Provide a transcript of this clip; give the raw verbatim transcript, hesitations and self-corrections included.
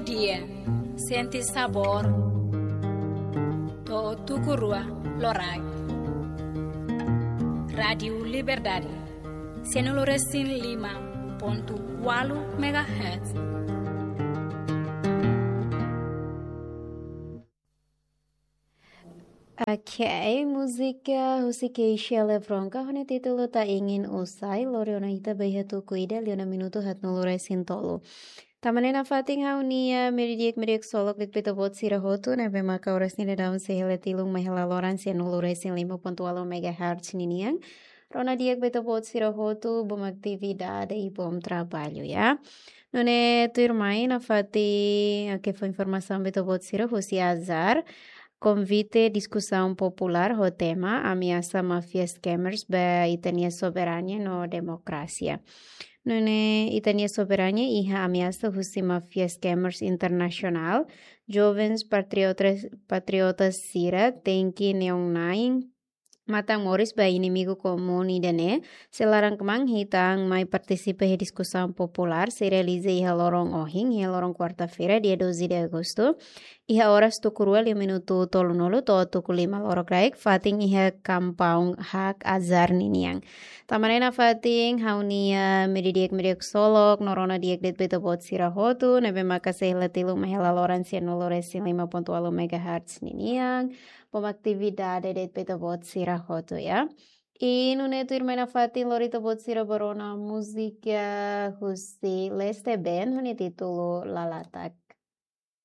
Dia, sente sabór. To'o tuku rua loraik. Rádiu Liberdade, sianulu resin lima pontu ualu megahertz. Ok, múzika husi Keisha Lebronka ho nia títulu Ta Ingin Usai, lori ona ita ba iha tuku ida liu ona minutu haatnulu resin tolu. Tanba ne'e nafatin ha'u-nia, ah, media di'ak, media di'ak ksolok de'it ba ita-boot sira hotu, ne'ebé maka oras ne'e daudaun sei hela tilun mai hela loron sianulu resin lima pontu ualu megahertz ninian. Rona di'ak ba ita-boot sira hotu, bom atividade i bom trabalho, ya. Nune'e tuirmai nafatin, ah, ke fó informasaun ba ita-boot sira husi ASAR, konvite diskusaun populár ho tema ameasa máfia scammers ba ita-nia soberania no demokrasia. Nune'e ita-nia soberania iha ameasa husi máfia scammers internasionál. Jovens patriotas, patriotas sira tenke neon nain matan moris ba inimigu komún ida-ne'e. Se laran kmaan, ita mai partisipa iha diskusaun populár sei realiza iha loron ohin, iha loron kuarta-feira, dia doze de agosto, iha oras tuku rua liu minutu tolunulu to'o tuku lima lorokraik, fatin iha kampaun Hak ASAR ninian. Tanba ne'e nafatin ha'u-nia, ah, media di'ak, media di'ak ksolok, no rona di'ak de'it ba ita-boot sira hotu, ne'ebé maka sei hela tilun mai hela loron sianulu resin lima pontu ualu megahertz ninian. Bom atividade de'it ba ita-boot sira hotu, ya. I nune'e tuirmai nafatin lori ita-boot sira ba rona múzika husi Leste Band ho nia títulu Lalatak.